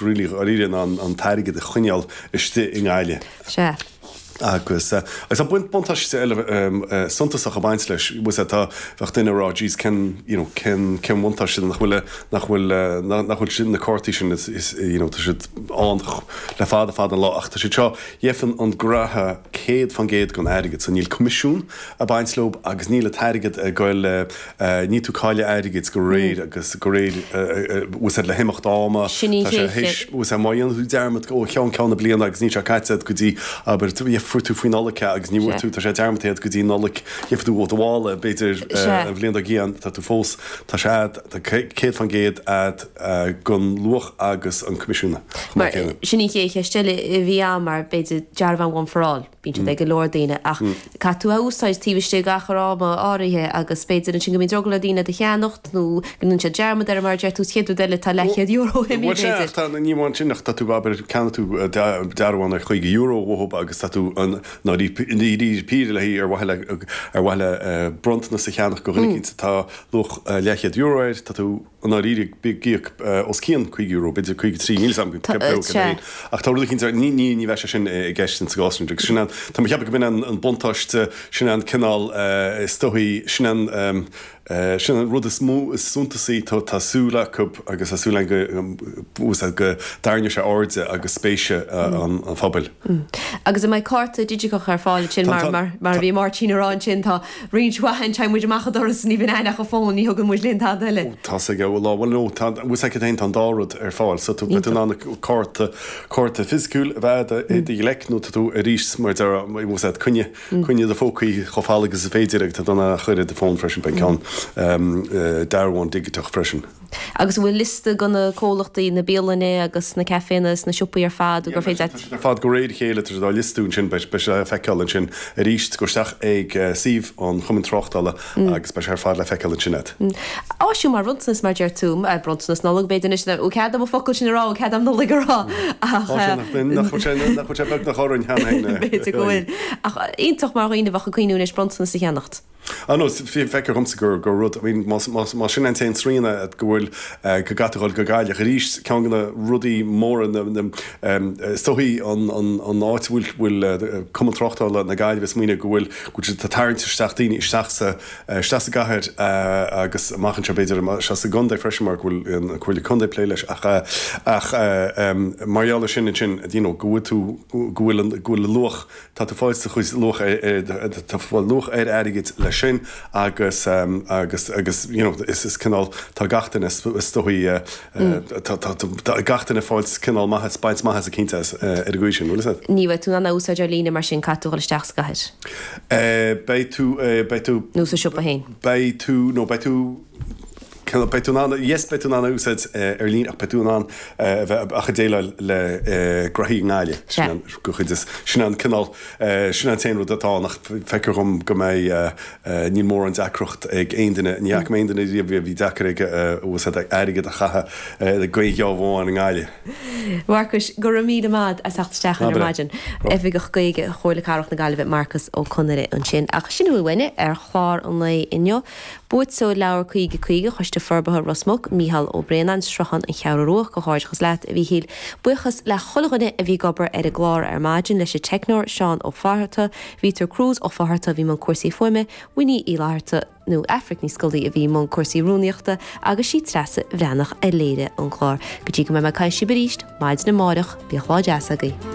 really dháiríre ná an t-airgead a choinneáil istigh i nGaillimh. Sea. Agus agus tá buntáiste eile suntasach ag baint leis, bhfuil a fhios agat, tá, bheadh duine ag rá jeez cén, you know, cén, cén bhuntáiste nach bhfuil, nach bhfuil, nach bhfuil sin, na cártaí sin is, is, you know, tá siad ann le fada fada an lá ach tá siad seo, gheibheann an graithe 100% den airgead so níl coimisiún ag baint leo agus níl an t-airgead ag goil, níl tú ag cailleadh airgid go réir agus go réir, bhfuil a fhios agat, le himeacht ama, Sin í tá sé théis, bhfuil a fhios agat, má dhéanann tú dearmad ó cheann ceann na bliana agus níl sé caite agat go dtí, abair, fuair tú faoi Nollaig é agus ní bhfuair tú, tá sé dearmadta agat go dtí Nollaig, gheobhaidh tú ó do mhála, b'fhéidir, an bhliain dár gcionn, tá tú fós, tá sé agat, tá 100% agat den luach agus an coimisiún chomh maith céanna. Sin í an chéad cheist eile a bhí agam mar b'fhéidir dearbhán One for All. Bíonn siad ag go leor daoine ach caithfidh tú a úsáid taobh istigh d'achar ama áirithe agus b'fhéidir ansin go mbíonn drogall ar daoine iad a cheannacht nó go ndéanann siad dearmad air mar a deir tú, chéad rud eile tá leathchéad euro imithe Bhuel sea, b'fhéidir. ach tá, ní amháin sin ach tá tú, abair, ceannaigh tú dearbhán ar €50 uathub agus tá tú i ndáiríre píre le ar mhaithe le ar mhaithe le bronntanas a cheannach do dhuine eicínt atá luach leathchéad euro air, tá tú i ndáiríre ag íoc os cionn €50, b'fhéidir 53, níl 'fhios a'm cé féin. Ach tá rud eicínt, ní, ní, ní bheidh sé sin i gceist insa gcás sin. Agus sin an, tá mé ag ceapadh go b'in an buntáiste, sin an cineál, is dóichí, sin an, sin an rud is mó, is suntasaí, tá, tá súil acu agus tá súil againn go, bhfuil 'fhios a'd, go dtarraingeoidh sé airde agus spéise an phobail. Agus an mbeidh cárta digiteach ar fáil ansin mar, mar, mar a bhí Máirtín a rá ansin, tá roinnt mhaith againn, téann muid amach an doras ní bhíonn againn ach an fón, ní thugann muid linn tada eile. Ó tá 's aige, bhuel á, bhuel no, tá, bhfuil 's agat féin, tá an dá rud ar fáil, so tú, beidh tú in ann cárta, cárta fisiciúil a bheith i do ghleic nó tá tú arís mar a déarfá, bhfuil 's agat, coinnigh, coinnigh do phócaí chomh fada agus is féidir agus tá tú in ann a chur i do fón freisin, beidh an ceann dearbhán digiteach freisin. Agus an bhfuil liosta de na comhlachtaí, na bialanna agus na caiféanna is na siopaí ar fad gur féidir Tá siad ar fad de réir a chéile, tá siad á liostú ansin, beidh sé le feiceáil ansin arís. Gabh isteach ag suíomh an Chumainn Tráchtála agus beidh sé ar fad le feiceáil ansin agat. Áisiúil mar bhronntanas, mar deir tú, bronntanas Nollag b'fhéidir anois, an cead dom an focal sin a rá, an cead dom Nollaig a rá ach. Nach bhfuil sé beagnach orainn cheana féin. B'fhéidir go bhfuil. Ach iontach mar dhaoine a bheadh ag cuimhniú anois bronntanas a cheannacht. Ah no, feictear dhomsa gur gur rud, I mean, más más más sin an t-aon srian agat go bhfuil go gcaithfidh tú dhul go Gaillimh arís, ceann de na rudaí móra na na is dóichí an an an áit a bhfuil bhfuil Cumann Tráchtála na Gaillimhe ag smaoineamh go bhfuil go bhfuil siad ag tarraingt isteach daoine isteach sa isteach sa gcathair agus amach anseo b'fhéidir isteach sa gcontae freisin mar go bhfuil an Comhairle Contae ag plé leis ach ach mar gheall ar sin ansin you know go bhfuil tú go bhfuil an go bhfuil luach Tá tú fáil do chuid luach ar, tá fáil luach ar airgead leis sin agus, agus, agus you know is, is cineál, tá gach duine is dóichí, tá, tá, tá gach duine fáil cineál maitheas, baint maitheas eicínt as ar an gcaoi sin, bhfuil fhios agat? Ní bheidh tú in ann é a úsáid ar líne mar sin, caithfidh tú dhul isteach sa gcathair. Beidh tú, beidh tú. Nó sa siopa féin. Beidh tú, nó beidh tú. Beidh tú in ann, yes, beidh tú in ann a úsáid ar líne ach beidh tú in ann a bheith ach ag déileáil le graithí i nGaillimh. Sin an chuid is, sin an cineál, sin an t-aon rud atá ann ach feictear dhom go mbeidh, níl mórán deacracht ag aon duine, ní fhaca mé aon duine riamh a bhí deacair aige úsáid airgead a chaitheamh ag aon gheábh amháin i nGaillimh. Mharcais, go raibh míle maith as theacht isteach ar maidin. Oifigeach Gaeilge Chomhairle Cathrach na Gaillimhe, Marcas Ó Conaire ansin. Ach sin a bhfuil uainne ar chlár an lae inniu. Buaiteoir Leabhar 50 50 Choiste Forbartha Ros Muc, Mícheál Ó Braonáin, Sruthán, An Cheathrú Rua, Comhghairdeachas leat, a Mhíchíl. Buíochas le chuile dhuine a bhí ag obair ar an gclár ar maidin, leis an teicneoir Seán Ó Fátharta, Vítor Cruz Ó Fátharta a bhí i mbun cúrsaí fuaime, Winnie Uí Fhlatharta, nó Aifric Ní Scolaí a bhí i mbun cúrsaí rúnaíochta agus sí Treasa Bhreathnach a léirigh an clár. Go dtí go mbeidh mé ag caint libh arís maidin amáireach, bíodh lá deas agaibh.